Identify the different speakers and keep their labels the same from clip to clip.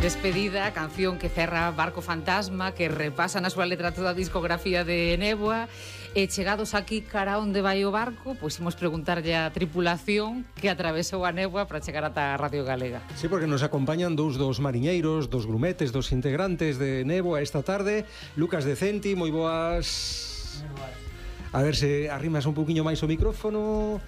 Speaker 1: Despedida, a canción que cerra Barco Fantasma, que repasa na súa letra toda a discografía de Néboa. E chegados aquí cara onde vai o barco, pois imos preguntarlle á tripulación que atravesou a Néboa para chegar ata a Radio Galega.
Speaker 2: Sí, porque nos acompañan dous dos mariñeiros, dos grumetes, dos integrantes de Néboa esta tarde. Lucas Decenti, moi boas.
Speaker 3: Moi boas.
Speaker 2: A ver se arrimas un poquinho máis o micrófono.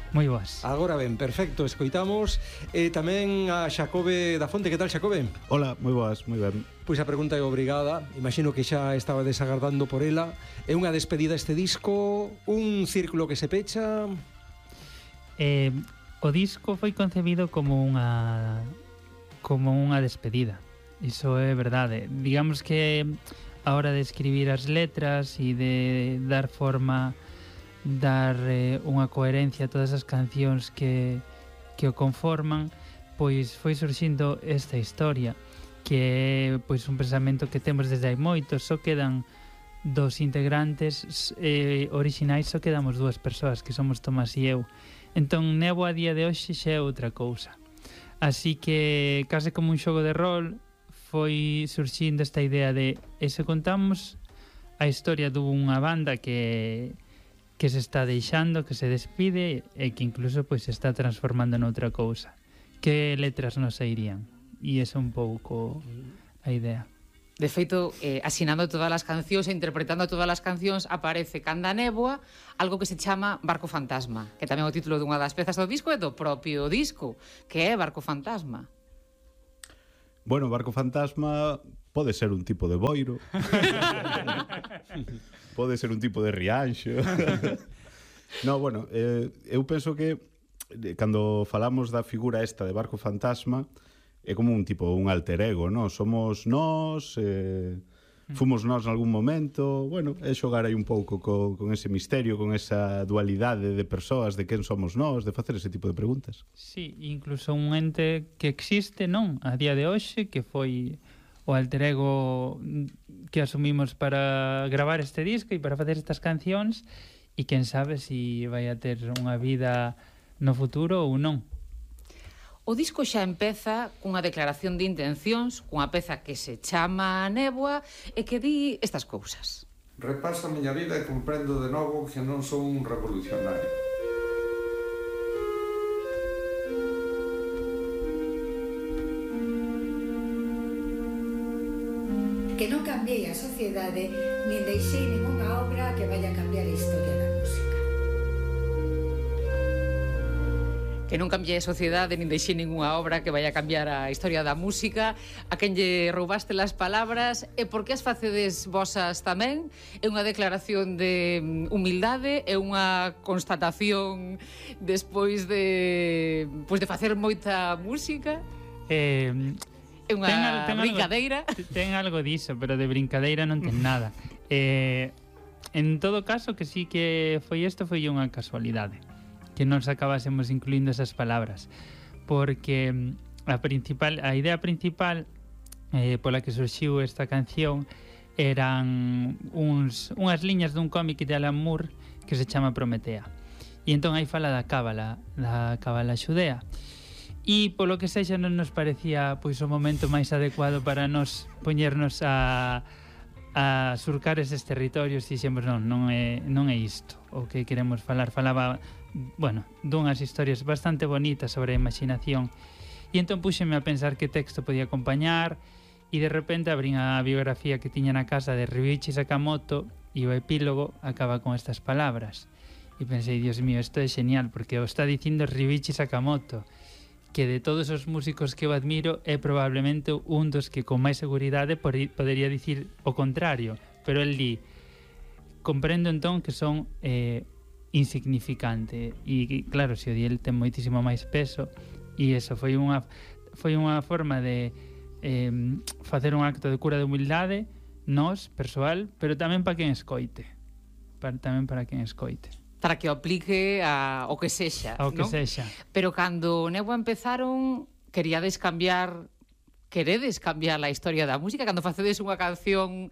Speaker 3: Moi boas.
Speaker 2: Agora ben, perfecto, escoitamos. E tamén a Xacobe da Fonte. Que tal, Xacobe?
Speaker 4: Hola, moi boas, moi ben.
Speaker 2: Pois a pregunta é obrigada. Imagino que xa estaba desagardando por ela. É unha despedida este disco? Un círculo que se pecha?
Speaker 3: O disco foi concebido como unha despedida. Iso é verdade. Digamos que a hora de escribir as letras e de dar forma, dar unha coherencia a todas as cancións que o conforman, pois foi surxindo esta historia, que é pois un pensamento que temos desde hai moito. Só quedan dos integrantes orixinais, só quedamos dúas persoas, que somos Tomás e eu. Entón Néboa a día de hoxe xa é outra cousa. Así que case como un xogo de rol foi surxindo esta idea de se contamos a historia dunha banda que se está deixando, que se despide e que incluso pois se está transformando noutra cousa. Que letras nos sairían? E esa é un pouco a idea.
Speaker 1: De feito, asinando todas as cancións e interpretando todas as cancións, aparece Canda Néboa, algo que se chama Barco Fantasma, que tamén é o título dunha das pezas do disco e do propio disco, que é Barco Fantasma.
Speaker 4: Bueno, Barco Fantasma pode ser un tipo de boiro. Pode ser un tipo de rianxo. No, bueno, eu penso que cando falamos da figura esta de Barco Fantasma é como un tipo, un alter ego, no? Somos nós, fomos nós nalgún momento. Bueno, é xogar aí un pouco con ese misterio, con esa dualidade de persoas, de quen somos nós, de facer ese tipo de preguntas.
Speaker 3: Sí, incluso un ente que existe, non? A día de hoxe, que foi o alter ego que asumimos para gravar este disco e para facer estas cancións, e quen sabe se vai a ter unha vida no futuro ou non.
Speaker 1: O disco xa empeza cunha declaración de intencións, cunha peza que se chama Néboa e que di estas cousas.
Speaker 5: Repaso a miña vida e comprendo de novo que non son un revolucionario.
Speaker 6: Que non cambiei a sociedade nin deixei ninguna obra que vaya a cambiar a historia da música.
Speaker 1: Que non cambie a sociedade nin deixei ningunha obra que vai a cambiar a historia da música. A quen lle roubaste las palabras e por que as facedes vosas tamén? É unha declaración de humildade, é unha constatación despois de facer moita música? É unha brincadeira?
Speaker 3: Ten algo diso, pero de brincadeira non ten nada. En todo caso, que sí que foi isto, foi unha casualidade que nos acabásemos incluindo esas palabras, porque a idea principal pola que surxiu esta canción eran unhas liñas dun cómic de Alan Moore que se chama Prometea, e entón aí fala da cábala xudea, e polo que sexa non nos parecía pois o momento máis adecuado para nos poñernos a surcar eses territorios, e dixemos non é isto o que queremos falar. Falaba, bueno, dunhas historias bastante bonitas sobre a imaginación, e entón puxeme a pensar que texto podía acompañar, e de repente abrín a biografía que tiña na casa de Ryuichi Sakamoto e o epílogo acaba con estas palabras, e pensei, Dios mío, isto é genial, porque o está dicindo Ryuichi Sakamoto, que de todos os músicos que eu admiro é probablemente un dos que con máis seguridade podería dicir o contrario, pero el di: comprendo entón que son insignificante, e claro, se o di el ten moitísimo máis peso, e eso foi unha forma de facer un acto de cura de humildade nos, persoal, pero tamén para quen escoite, tamén para quen escoite,
Speaker 1: para que o aplique ao que sexa,
Speaker 3: ao que
Speaker 1: non?
Speaker 3: sexa.
Speaker 1: Pero cando Néboa empezaron, queredes cambiar a historia da música? Cando facedes unha canción,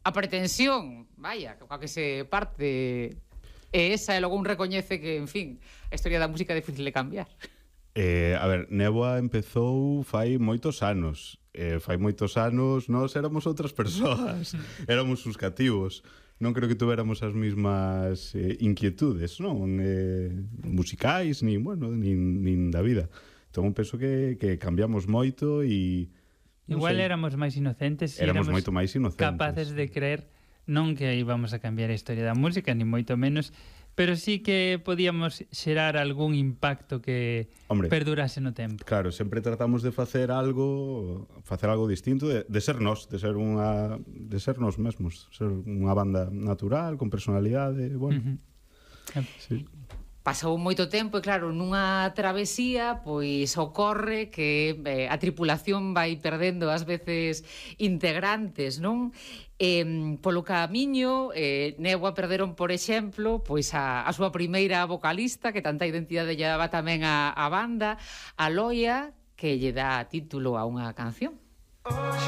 Speaker 1: a pretensión, vaya, coa que se parte é esa, e logo un recoñece que, en fin, a historia da música é difícil de cambiar.
Speaker 4: A ver, Néboa empezou fai moitos anos. fai moitos anos nós éramos outras persoas, éramos os cativos. Non creo que tuéramos as mismas inquietudes, non? Musicais, nin da vida. Entón, penso que cambiamos moito e...
Speaker 3: Igual éramos máis inocentes e
Speaker 4: éramos moito máis inocentes.
Speaker 3: Capaces de creer non que íbamos a cambiar a historia da música, ni moito menos, pero sí que podíamos xerar algún impacto que perdurase no tempo.
Speaker 4: Claro, sempre tratamos de facer algo distinto, de ser nós, de ser nós mesmos, ser unha banda natural, con personalidade, bueno.
Speaker 3: Sí.
Speaker 1: Pasou moito tempo e claro, nunha travesía pois ocorre que a tripulación vai perdendo ás veces integrantes, non? Polo camiño, Néboa perderon, por exemplo, pois a súa primeira vocalista, que tanta identidade lle daba tamén a banda, a Loia, que lle dá título a unha canción.